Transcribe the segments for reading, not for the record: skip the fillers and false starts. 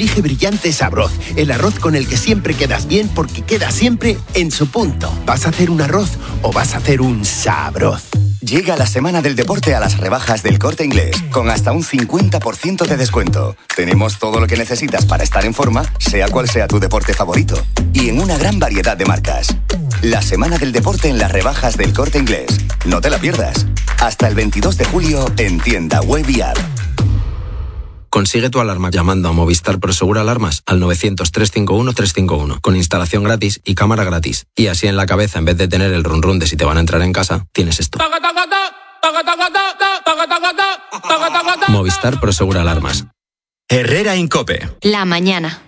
elige Brillantes Sabroz, el arroz con el que siempre quedas bien porque queda siempre en su punto. ¿Vas a hacer un arroz o vas a hacer un sabroz? Llega la semana del deporte a las rebajas del Corte Inglés, con hasta un 50% de descuento. Tenemos todo lo que necesitas para estar en forma, sea cual sea tu deporte favorito. Y en una gran variedad de marcas. La semana del deporte en las rebajas del Corte Inglés. No te la pierdas. Hasta el 22 de julio en tienda web y app. Consigue tu alarma llamando a Movistar Prosegur Alarmas al 900-351-351 con instalación gratis y cámara gratis. Y así en la cabeza, en vez de tener el run run de si te van a entrar en casa, tienes esto. Movistar Prosegur Alarmas. Herrera en COPE. La mañana.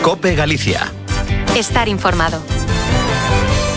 COPE Galicia. Estar informado.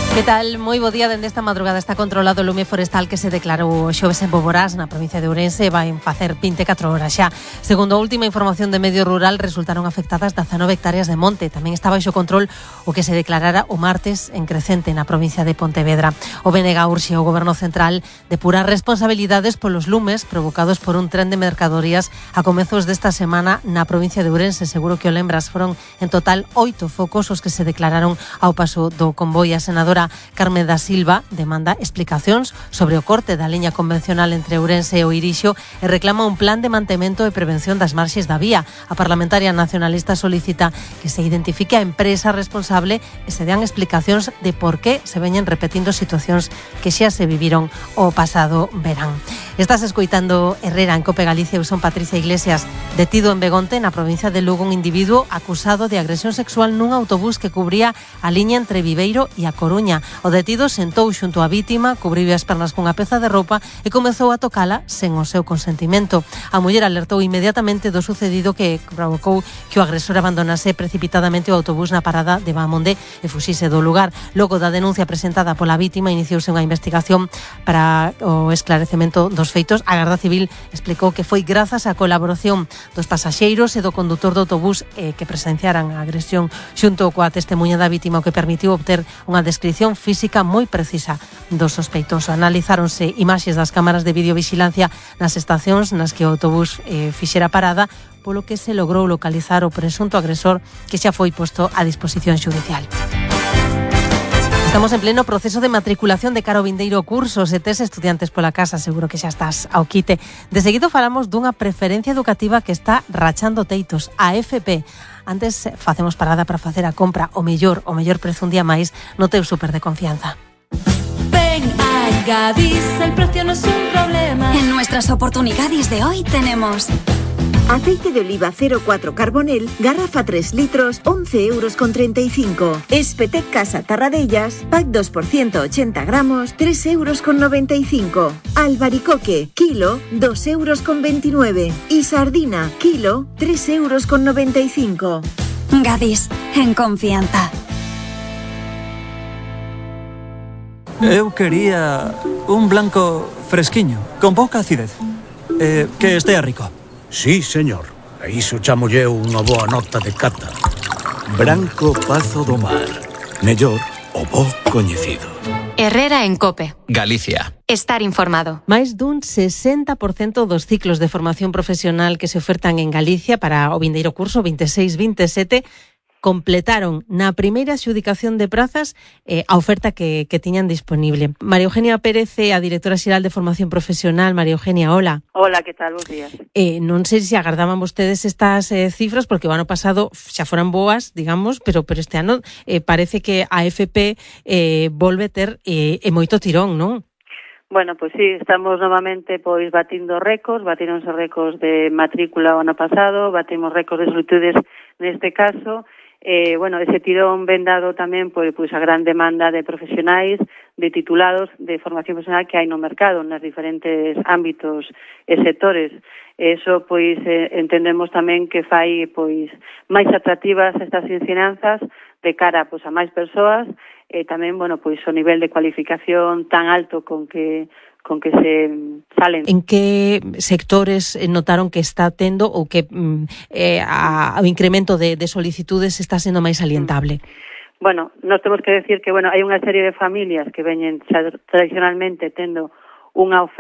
Que tal? Moi bo día. Dende esta madrugada está controlado o lume forestal que se declarou xoves en Boborás, na provincia de Ourense, vai facer 24 horas xa. Segundo a última información de Medio Rural, resultaron afectadas 19 hectáreas de monte. Tamén está baixo control o que se declarara o martes en Crecente, na provincia de Pontevedra. O BNG urxe ao Goberno Central depurar responsabilidades polos lumes provocados por un tren de mercadorías a comezos desta semana na provincia de Ourense. Seguro que o lembras, foron en total 8 focos os que se declararon ao paso do convoi. A senadora Carme da Silva demanda explicacións sobre o corte da liña convencional entre Ourense e o Irixo e reclama un plan de mantemento e prevención das marxes da vía. A parlamentaria nacionalista solicita que se identifique a empresa responsable e se dean explicacións de por que se veñen repetindo situacións que xa se viviron o pasado verán. Estás escoitando Herrera en COPE Galicia. Eu son Patricia Iglesias. Detido en Begonte, na provincia de Lugo, un individuo acusado de agresión sexual nun autobús que cubría a liña entre Viveiro e A Coruña. O detido sentou xunto á vítima, cubriu as pernas cunha peza de roupa e comezou a tocala sen o seu consentimento. A muller alertou inmediatamente do sucedido, que provocou que o agresor abandonase precipitadamente o autobús na parada de Bamonde e fuxise do lugar. Logo da denuncia presentada pola vítima, iniciouse unha investigación para o esclarecemento dos feitos. A Garda Civil explicou que foi grazas á colaboración dos pasaxeiros e do condutor do autobús que presenciaran a agresión xunto coa testemuña da vítima, o que permitiu obter unha descripción física moi precisa do sospeitoso. Analizáronse imaxes das cámaras de videovigilancia nas estacións nas que o autobús fixera parada, polo que se logrou localizar o presunto agresor, que xa foi posto a disposición xudicial. Estamos en pleno proceso de matriculación de cara ao vindeiro curso. Se tes estudiantes pola casa, seguro que xa estás ao quite. De seguido falamos dunha preferencia educativa que está rachando teitos, a FP. Antes facemos parada para facer a compra o mellor prezo un día máis no teu súper de confianza. Ven a Gadis, el precio no es un problema. En nuestras oportunidades de hoy tenemos aceite de oliva 04 Carbonel, garrafa 3 litros, 11,35 €. Espetec Casa Tarradellas, pack 2 por 180 gramos, 3,95 €. Albaricoque, kilo, 2,29 €. Y sardina, kilo, 3,95 €. Gadis, en confianza. Eu quería un blanco fresquiño, con pouca acidez. Que estea rico. Sí, señor. A iso chamolle unha boa nota de cata. Branco Pazo do Mar. Mellor o bo coñecido. Herrera en COPE. Galicia. Estar informado. Máis dun 60% dos ciclos de formación profesional que se ofertan en Galicia para o vindeiro curso 26-27 completaron na primeira adxudicación de prazas a oferta que tiñan disponible. María Eugenia Pérez, a directora xeral de Formación Profesional. María Eugenia, hola. Hola, que tal? Bos días. Non sei se agardaban vostedes estas cifras, porque o ano pasado xa foran boas, digamos, pero este ano parece que a FP volve ter moito tirón, non? Bueno, pois sí, estamos novamente batindo récords, batironse récords de matrícula o ano pasado, batimos récords de solicitudes neste caso. Ese tirón ven dado tamén pois a gran demanda de profesionais, de titulados de formación profesional que hai no mercado, nos diferentes ámbitos e sectores. Eso, entendemos tamén que fai máis atractivas estas ensinanzas de cara a máis persoas, e tamén, o nivel de cualificación tan alto con que se salen. En que sectores notaron que está tendo ou que o incremento de solicitudes está sendo máis alientable? Bueno, nós temos que decir que hai unha serie de familias que veñen tradicionalmente tendo unha oferta